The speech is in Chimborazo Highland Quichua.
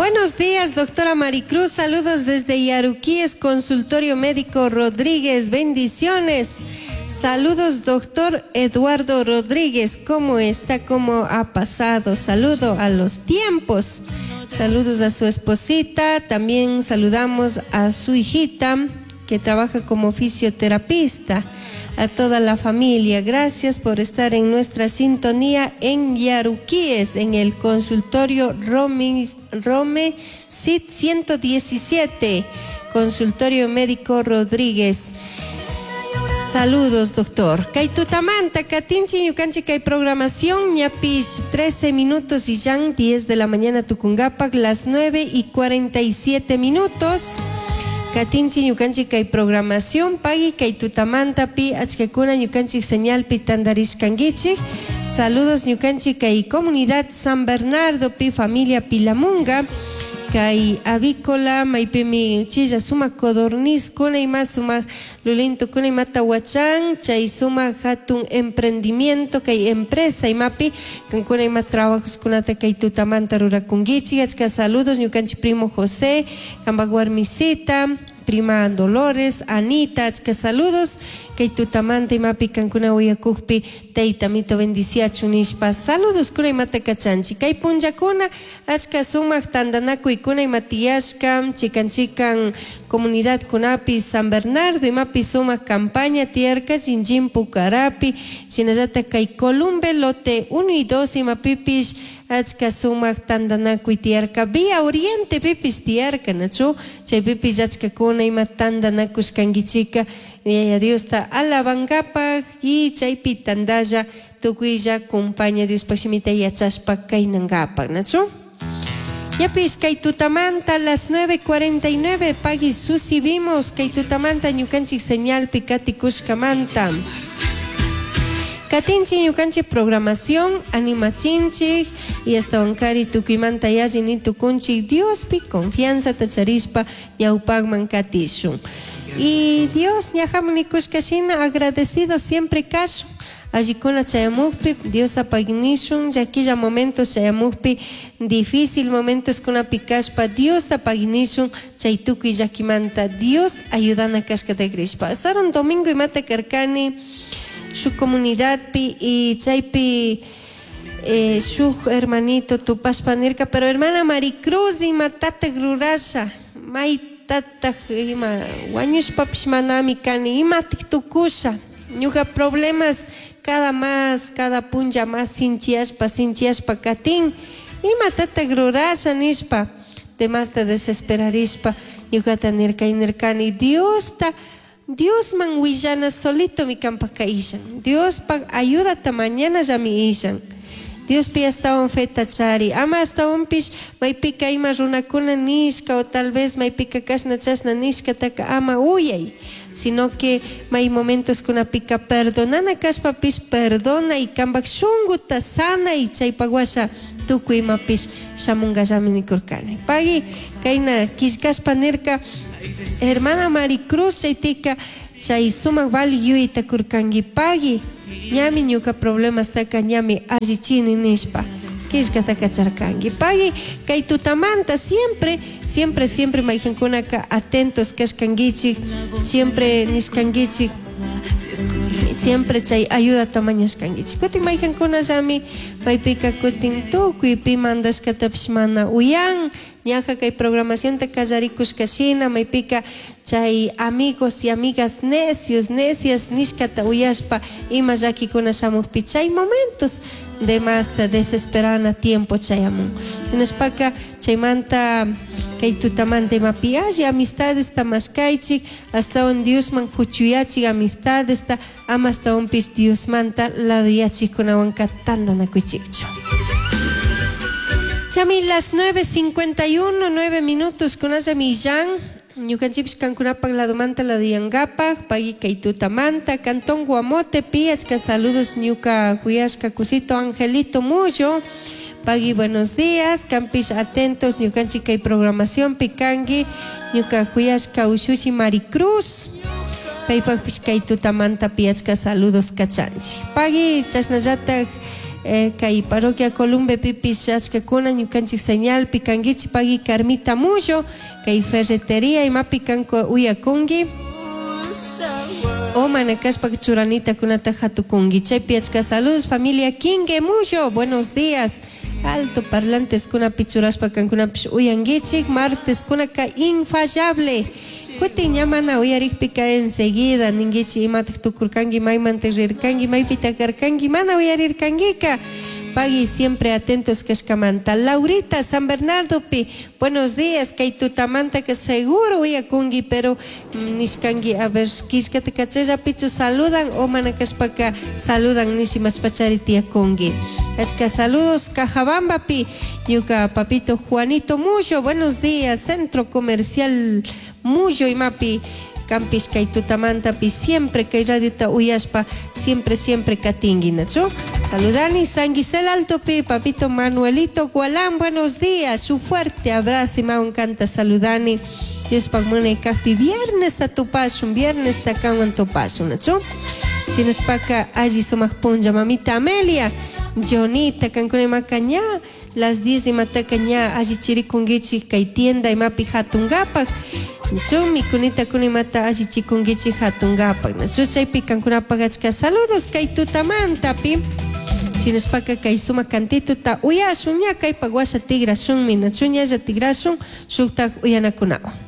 Buenos días, doctora Maricruz. Saludos desde Yaruquíes, consultorio médico Rodríguez. Bendiciones. Saludos, doctor Eduardo Rodríguez. ¿Cómo está? ¿Cómo ha pasado? Saludo a los tiempos. Saludos a su esposita. También saludamos a su hijita que trabaja como fisioterapista. A toda la familia, gracias por estar en nuestra sintonía en Yaruquíes, en el consultorio Rome, Rome CIT 117, consultorio médico Rodríguez. Saludos, doctor. Kay tutamanta, katinchik ñukanchik kay programación, ñapish 13 minutos y ya 10 de la mañana tucungapac, las 9 y 47 minutos. Katinchik ñukanchik kay programación, pagui kay tutamanta pi achkakuna ñukanchik señalpi tandarishkankichik. Saludos ñukanchik kay comunidad San Bernardo pi familia Pilamunga. Kay avícola maypimi uchilla sumak codorniz kuna ima sumak lulintu kuna imata wachan chay sumak hatun emprendimiento kay empresa imapi kankuna ima trabajos kunata kay tutamanta rurakunkichik. Achka saludos ñukanchik primo José, kampak warmisita, prima Dolores, Anita, achka saludos kay tutamanta imapi kankuna uyakukpi tayta mito bendiciachun nishpa saludos kuna imata kachanchik. Kay punllakuna achka sumak tantanakuykuna ima tiyashka chikan chikan comunidad kunapi San Bernardo imapi sumak campaña tiyarka Chinchín Pucarapi shinallatak kay Columbe lote 1 y 2 imapipish achka sumak tantanakuy tiyarka Vía Oriente pipish tiyarka nachu chaypipish achkakuna ima tantanakushkankichika Yaya Diosta alabankapaj y chaypi tantalla tukuylla kumpaña Diospaj shimita yachashpa kaynankapak nachu. Ñapish kay tutamanta las 9:49 pagui susi vimos kay tutamanta ñukanchik señalpi katikushkamanta. Katinchik ñukanchik programación animachinchik y ashtawankari tukuymanta yalli ni tukunchik Diospi confianzata charishpa ñawpakman katishun. Y Dios ñajaman nikushka shina agradecido siempre kashun. Allikuna chayamukpi Diosta paginishun, llaquilla momentos chayamukpi, difícil momentos kunapi kashpa Diosta paginishun, chay tukuy llakimanta Dios ayudana kashkata crishpa. Sarun domingo imata karkani shuk comunidadpi y chaypi shuk hermanito tupashpa nirka, pero hermana Maricruz imatatak rurasha, maytatak ima wañushpapish manami kani, imatik tukusha, ñuka problemas cada más, cada punlla más sinchiashpa, sinchiashpa katin, imatatak rurasha nishpa, demasta desesperarishpa, ñukata nirka y nirkani, Diosta, Diosman willana solito mi kampak ishan, Diospak ayudata mañana ya mi ishan. Diospi ashtawan feta chari, ama ashtawanpish maypika ima runakuna nishka o tal vez maypika kashna chashna nishkataka ama uyay, sino que may momentos kunapika perdonana kashpapish perdona y kampak shunguta sana y chaypak washa tukuy imapish shamunkallami nikurkani. Pagui kayna killkashpa nirka hermana Maricruz chaytika chay sumak vali yuyayta kurkanki pagui ñami ñuka problemastaka ñami allichini nishpa killkata kacharkanki. Pagui kay tutamanta siempre, siempre, siempre mayqinkunaka atentos kashkankichik, siempre nishkankichik, siempre chay ayudata mañashkankichik. Kutin mayqinkunallami maypika kutin tukuy pi mandashkatapish mana uyan, ñaja kay programacionta kallarikushka shina maypika chay amigos y amigas necios, necias nishkata uyashpa ima llakikuna shamukpi chay momentos de más desesperana tiempo chayamun. Hinashpaka chaymanta kay tutamanta imapi alli amistadesta mashkaychik, ashtawan Diosman huchuyachik amistadesta, ama ashtawanpish Diosmanta laduyachikkunawanka tantanakuychikchu. Yami las 9:51, 9 minutos con aya millán. Ñukanchikpish kankunapak ladomanta laduyankapak, pagui kay tutamanta, Cantón Guamote, piachka saludos ñuka huyashka kusito Angelito Muyo. Pagui buenos días, kampish atentos ñukanchik kay programación pikangi, ñuka huyashka ushushi Maricruz. Paypakpish kay tutamanta piachka saludos kachanchik. Pagui chashnallatak Kay parroquia Columbepipish achkakuna ñukanchik señalpi kankichik pagui Carmita Mullo kay ferretería imapi kanku uyakunki o mana kashpaka churanitakunata hatukunki chaypi achka saludos familia Quingue Mullo buenos días alto parlanteskunapi churashpa kankunapish uyankichik marteskunaka infallable kutin ña mana uyarikpika enseguida ninkichik imatak tukurkanki maymanta rirkanki maypitak karkanki mana uyarirkankika pagui siempre atentos kashkamanta Laurita San Bernardopi buenos días kay tutamantaka seguro uyakunki pero nishkanki a ver killkata kachallapichu saludan o mana kashpaka saludan nishi mashpachari tiyakunki achka saludos Cajabambapi ñuka papito Juanito Mullo buenos días centro comercial Mullo imapi kampish kay tutamantapi siempre kay radiota uyashpa siempre siempre katinki nachu saludani San Gisel Altopi papito Manuelito Gualán buenos días su fuerte abrazo imawan kanta saludani Diospaq munay kajpi viernes ta tupashun viernes ta kanwan tupashun nachu shinashpaka alli sumak punlla mamita Amelia Jonita kankuna imaka ña las 10 imataka ña alli chirikunkichik kay tienda imapi hatunkapak nachu mikunita kuna imata allichikunkichik hatunkapak nachu chaypi kankunapak achka saludos kay tutamantapi shinashpaka kay sumak cantituta uyashun ña kaypak washa tigrashunmi nachu ñalla tigrashun shuktak uyanakunawan.